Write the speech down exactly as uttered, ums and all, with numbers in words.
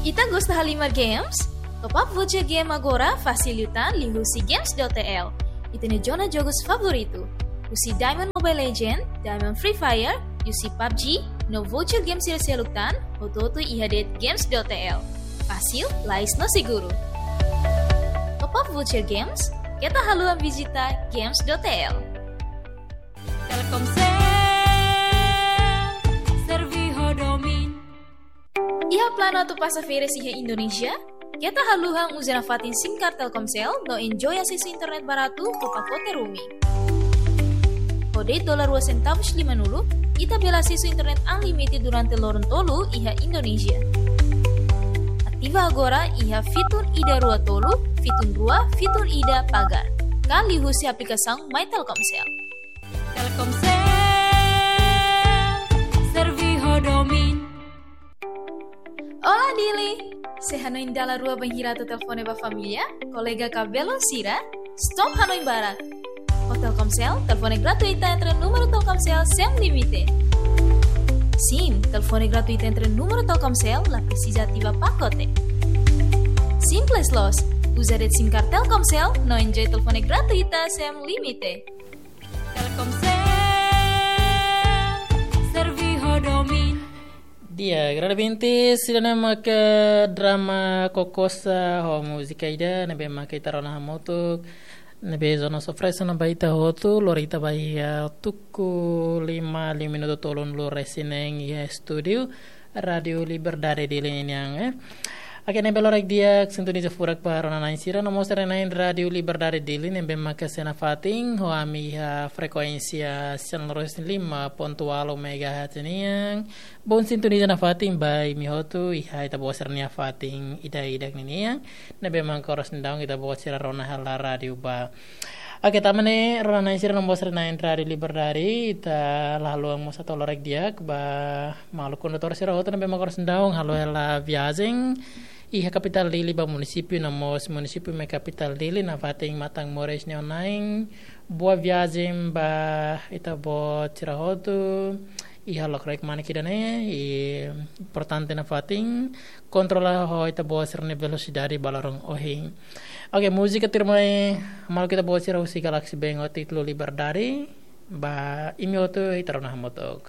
Ita gosta halimar games? Top up voucher game agora fasil liután liuhusi games dot T L. Ita-nia zona jogus favoritu. Husi Diamond Mobile Legend, Diamond Free Fire, husi PUBG, no voucher game sira seluk tan, hotu-hotu iha de'it games dot T L. Fasil, lais no seguru. Top up voucher games, keta haluha vizita games dot T L. Telkomsel, servi ho domin. Iha planu atu pasa férias iha Indonézia? Keta haluha uza nafatin SIM card Telkomsel no enjoy asesu internet baratu ho pakote roaming. Ho de'it dolar rua sentavus limanulu, ita bele asesu internet unlimited durante loron tolu iha Indonézia. Ativa agora iha fitun ida rua tolu, fitun rua, fitun ida pagar. Ka liuhusi aplikasaun My Telkomsel. Telkomsel, servi ho domin. Olá, Dili! Sé hanoin dala rua bainhira atu telefone ba família, kolega ka belun sira? Stop hanoin barak! Ho Telkomsel, telefone gratuita entre númeru Telkomsel sem limite. Sim, telefone gratuita entre númeru Telkomsel, la presiza ativa pakote. Simples loos, uza de'it SIM card Telkomsel, no enjoy telefone gratuita sem limite. Telkomsel, servi ho domin. Di'ak, agrada binti, sira-ne'e maka drama Kokosa ho múzika ida, ne'ebé maka ita rona hamutuk, ne'ebé Jonas oferese ona ba ita hotu, lori ita ba iha tuku lima, lima minutu tolunulu resin neen iha estúdiu Rádio Liberdade Dili nian, eh. Oke, ne'ebé loraik di'ak, sintoniza furak ba rona-na'in sira, no mós sira-na'in Rádio Liberdade Dili, ne'ebé maka sei nafatin, ho ami iha frekuénsia sian lima pontu ualu megahertz nian. Bom sintoniza nafatin ba imi hotu, iha ita-boot sira-nia fatin ida-idak ninian. Ne'ebé maka oras ne'e daudaun ita-boot sira rona hela rádiu ba. Oke, tanba ne'e, rona-na'in sira no mós sira-na'in Rádio Liberdade, ita la haluha mós atu loraik di'ak ba maluk kondutór sira hotu ne'ebé maka oras ne'e daudaun halo hela viajen iha kapitál Dili ba munisípiu no mós munisípiu mai kapitál Dili nafatin Matamoros nia oin-na'in. Boa viagem ba ita-boot sira hotu. Iha lokraik manik ida-ne'e, i importante nafatin kontrola ho ita-boot sira-nia velosidade ba loron ohin. Oke, múzika tuirmai maluk ita-boot sira husi Galaxy Band ho títulu Liberdade, ba imi hotu ita rona hamutuk.